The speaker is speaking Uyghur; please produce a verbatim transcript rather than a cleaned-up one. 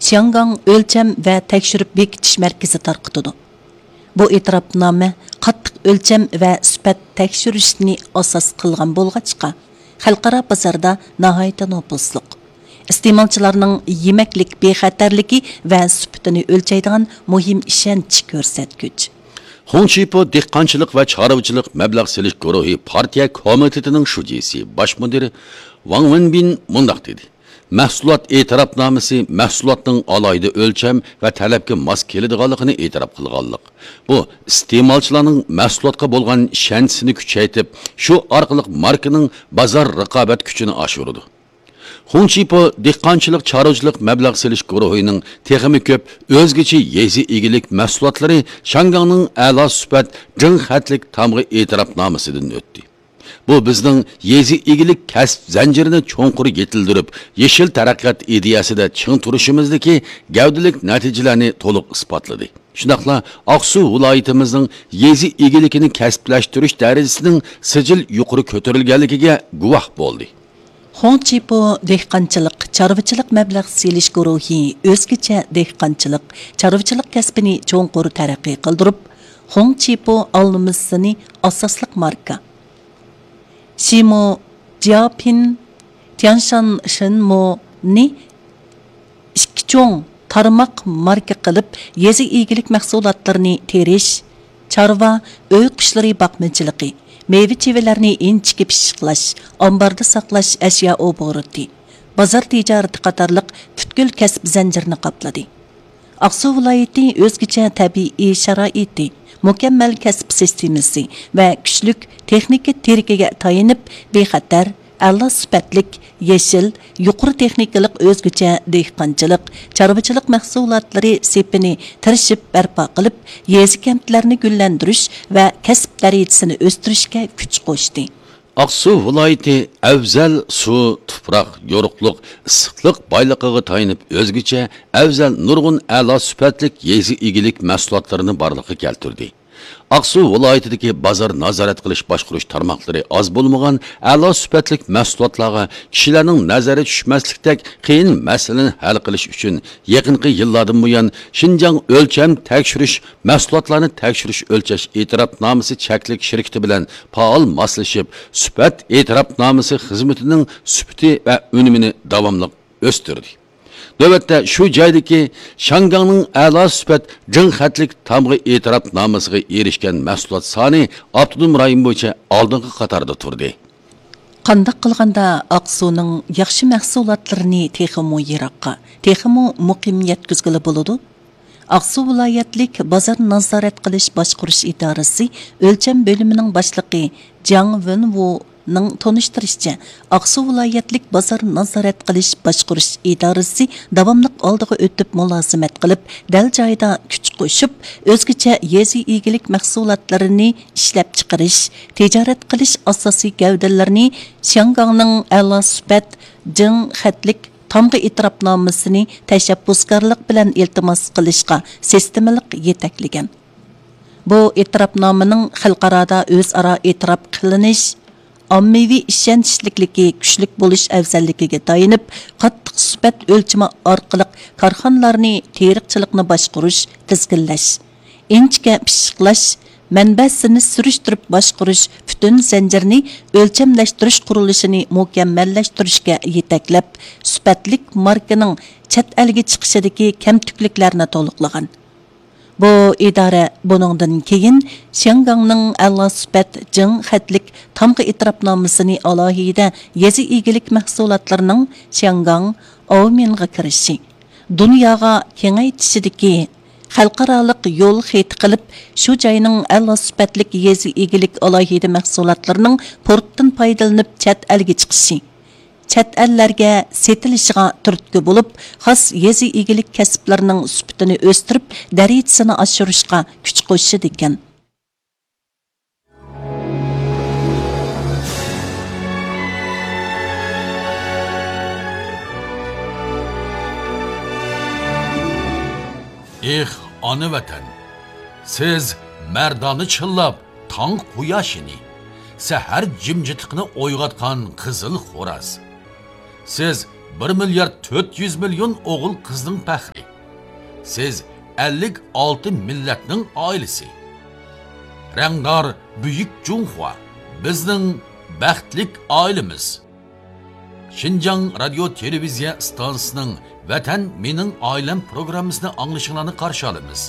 شياڭگاڭ ئۆلچەم ۋە تەكشۈرۈپ بېكىتىش مەركىزى تارقىتىدۇ. بۇ ئېتىراپنامە قاتتىق ئۆلچەم ۋە سۈپەت تەكشۈرۈشنى ئاساس قىلغان بولغاچقا، خەلقئارا بازاردا ناھايىتى نوپۇزلۇق، ئىستېمالچىلارنىڭ يېمەكلىك بىخەتەرلىكى ۋە سۈپىتىنى ئۆلچەيدىغان مۇھىم ئىشەنچ كۆرسەتكۈچ. خۇڭچىپو دېھقانچىلىق ۋە چارۋىچىلىق مەبلەغ سېلىش گۇرۇھى پارتىيە كومىتېتىنىڭ شۇجىسى، باش مۇدىرى ۋاڭ ۋېنبىن مۇنداق دېدى: مەھسۇلات ئېتىراپنامىسى مەھسۇلاتنىڭ ئالاھىدە ئۆلچەم ۋە تەلەپكە ماس كېلىدىغانلىقىنى ئېتىراپ قىلغانلىق. بۇ ئىستېمالچىلارنىڭ مەھسۇلاتقا بولغان ئىشەنچىسىنى كۈچەيتىپ، شۇ ئارقىلىق ماركىنىڭ بازار رىقابەت كۈچىنى ئاشۇرىدۇ. خۇڭچىپو دېھقانچىلىق چارۋىچىلىق مەبلەغ سېلىش گۇرۇھىنىڭ تېخىمۇ كۆپ ئۆزگىچە يېزا ئىگىلىك مەھسۇلاتلىرى شياڭگاڭنىڭ ئەلا سۈپەت جىڭ خەتلىك تامغا ئېتىراپنامىسىدىن ئۆتتى. بۇ بىزنىڭ يېزا ئىگىلىك كەسىپ زەنجىرىنى چوڭقۇر يېتىلدۈرۈپ، يېشىل تەرەققىيات ئىدىيەسىدە چىڭ تۇرۇشىمىزدىكى گەۋدىلىك نەتىجىلەرنى تولۇق ئىسپاتلىدى. شۇنداقلا ئاقسۇ ۋىلايىتىمىزنىڭ يېزا ئىگىلىكىنى كەسىپلەشتۈرۈش دەرىجىسىنىڭ سىجىل يۇقىرى كۆتۈرۈلگەنلىكىگە گۇۋاھ بولدى. خۇڭچىپو دېھقانچىلىق، چارۋىچىلىق مەبلەغ سېلىش گۇرۇھى ئۆزگىچە دېھقانچىلىق، چارۋىچىلىق كەسپىنى چوڭقۇر تەرەققىي قىلدۇرۇپ، خۇڭچىپو ئالمىسىنى ئاساسلىق ماركا، شىمۇ، جياپىن، تيانشان شىنمۇنى ئىككى چوڭ تارماق ماركا قىلىپ، يېزا ئىگىلىك مەھسۇلاتلىرىنى تېرىش، چارۋا، ئۆي قۇشلىرى باقمىچىلىقى، مېۋە-چېۋىلەرنى ئىنچىكە پىششىقلاش، ئامباردا ساقلاش ئەشيا ئوبوروتى، بازار تىجارىتى قاتارلىق پۈتكۈل كەسىپ زەنجىرىنى قاپلىدى. ئاقسۇ ۋىلايىتى ئۆزگىچە تەبىئىي شارائىتى، مۇكەممەل كەسىپ سىستېمىسى ۋە كۈچلۈك تېخنىكا تىرىكىگە تايىنىپ، بىخەتەر، ئەلا سۈپەتلىك، يېشىل، يۇقىرى تېخنىكىلىق ئۆزگىچە دېھقانچىلىق، چارۋىچىلىق مەھسۇلاتلىرى سېپىنى تىرىشىپ بەرپا قىلىپ، يېزا-كەنتلەرنى گۈللەندۈرۈش ۋە كەسىپ دەرىجىسىنى ئۆستۈرۈشكە كۈچ قوشتى. ئاقسۇ ۋىلايىتى ئەۋزەل سۇ، تۇپراق، يورۇقلۇق، ئىسسىقلىق بايلىقىغا تايىنىپ، ئۆزگىچە ئەۋزەل نۇرغۇن ئەلا سۈپەتلىك يېزا ئىگىلىك مەھسۇلاتلىرىنى بارلىققا كەلتۈردى. ئاقسۇ ۋىلايىتىدىكى بازار نازارەت قىلىش باشقۇرۇش تارماقلىرى ئاز بولمىغان ئەلا سۈپەتلىك مەھسۇلاتلارغا كىشىلەرنىڭ نەزىرى چۈشمەسلىكتەك قىيىن مەسىلىنى ھەل قىلىش ئۈچۈن، يېقىنقى يىللاردىن بۇيان شىنجاڭ ئۆلچەم تەكشۈرۈش، مەھسۇلاتلارنى تەكشۈرۈش ئۆلچەش ئېتىراپنامىسى چەكلىك شىركىتى بىلەن پائال ماسلىشىپ، سۈپەت ئېتىراپنامىسى خىزمىتىنىڭ سۈپىتى ۋە ئۈنۈمىنى داۋاملىق ئۆستۈردى. نۆۋەتتە شۇ جايدىكى شياڭگاڭنىڭ ئەلا سۈپەت جىڭ خەتلىك تامغا ئېتىراپنامىسىغا ئېرىشكەن مەھسۇلات سانى ئاپتونوم رايون بويىچە ئالدىنقى قاتاردا تۇردى. قانداق قىلغاندا ئاقسۇنىڭ ياخشى مەھسۇلاتلىرىنى تېخىمۇ يىراققا، تېخىمۇ مۇقىم يەتكۈزگىلى بولىدۇ؟ ئاقسۇ ۋىلايەتلىك بازار نازارەت قىلىش باشقۇرۇش ئىدارىسى ئۆلچەم بۆلۈمىنىڭ باشلىقى جاڭ ۋېنۋۇنىڭ تونۇشتۇرۇشىچە، ئاقسۇ ۋىلايەتلىك بازار نازارەت قىلىش باشقۇرۇش ئىدارىسى داۋاملىق ئالدىغا ئۆتۈپ مۇلازىمەت قىلىپ، دەل جايىدا كۈچ قوشۇپ، ئۆزگىچە يېزا ئىگىلىك مەھسۇلاتلىرىنى ئىشلەپچىقىرىش، تىجارەت قىلىش ئاساسىي گەۋدىلىرىنى شياڭگاڭنىڭ ئەلا سۈپەت، جىڭ خەتلىك تامغا ئېتىراپنامىسىنى تەشەببۇسكارلىق بىلەن ئىلتىماس قىلىشقا سىستېمىلىق يېتەكلىگەن. بۇ ئېتىراپنامىنىڭ خەلقئارادا ئۆزئارا ئېتىراپ قىلىنىش، ئاممىۋى ئىشەنچلىكلىكى كۈچلۈك بولۇش ئەۋزەللىكىگە تايىنىپ، قاتتىق سۈپەت ئۆلچىمى ئارقىلىق كارخانىلارنى تېرىقچىلىقنى باشقۇرۇش، تىزگىنلەش، ئىنچىكە پىششىقلاش، مەنبەسىنى سۈرۈشتۈرۈپ باشقۇرۇش پۈتۈن زەنجىرىنى ئۆلچەملەشتۈرۈش قۇرۇلۇشىنى مۇكەممەللەشتۈرۈشكە يېتەكلەپ، سۈپەتلىك ماركىنىڭ چەت ئەلگە چىقىشىدىكى كەمتۈكلۈكلەرنى تولۇقلىغان. بۇ ئىدارە بۇنىڭدىن كېيىن شياڭگاڭنىڭ ئەلا سۈپەت جىڭ خەتلىك تامغا ئېتىراپنامىسىنى ئالاھىدە يېزا ئىگىلىك مەھسۇلاتلىرىنىڭ شياڭگاڭ، ئاۋمېنغا كىرىشى، دۇنياغا كېڭەيتىشىدىكى خەلقئارالىق يول خېتى قىلىپ، شۇ جاينىڭ ئەلا سۈپەتلىك يېزا ئىگىلىك ئالاھىدە مەھسۇلاتلىرىنىڭ پورتتىن پايدىلىنىپ چەت ئەلگە چىقىشى، چەت ئەللەرگە سېتىلىشىغا تۈرتكە بولۇپ، خاس يېزا ئىگىلىك كەسىپلىرىنىڭ سۈپىتىنى ئۆستۈرۈپ، دەرىجىسىنى ئاشۇرۇشقا كۈچ قوشىدىكەن. ئېھ، ئانا ۋەتەن! سىز مەردانە چىللاپ تاڭ قۇياشىنى، سەھەر جىمجىتلىقىنى ئويغاتقان قىزىل خوراز. سىز بىر مىليارد تۆت يۈز مىليون ئوغۇل-قىزنىڭ پەخرى. سىز ئەللىك ئالتە مىللەتنىڭ ئائىلىسى. رەڭدار بۈيۈك جۇڭخۇا، بىزنىڭ بەختلىك ئائىلىمىز. شىنجاڭ رادىيو تېلېۋىزىيە ئىستانسىسىنىڭ ۋەتەن مېنىڭ ئائىلەم پروگراممىسىنى ئاڭلىشىڭلارنى قارشى ئالىمىز.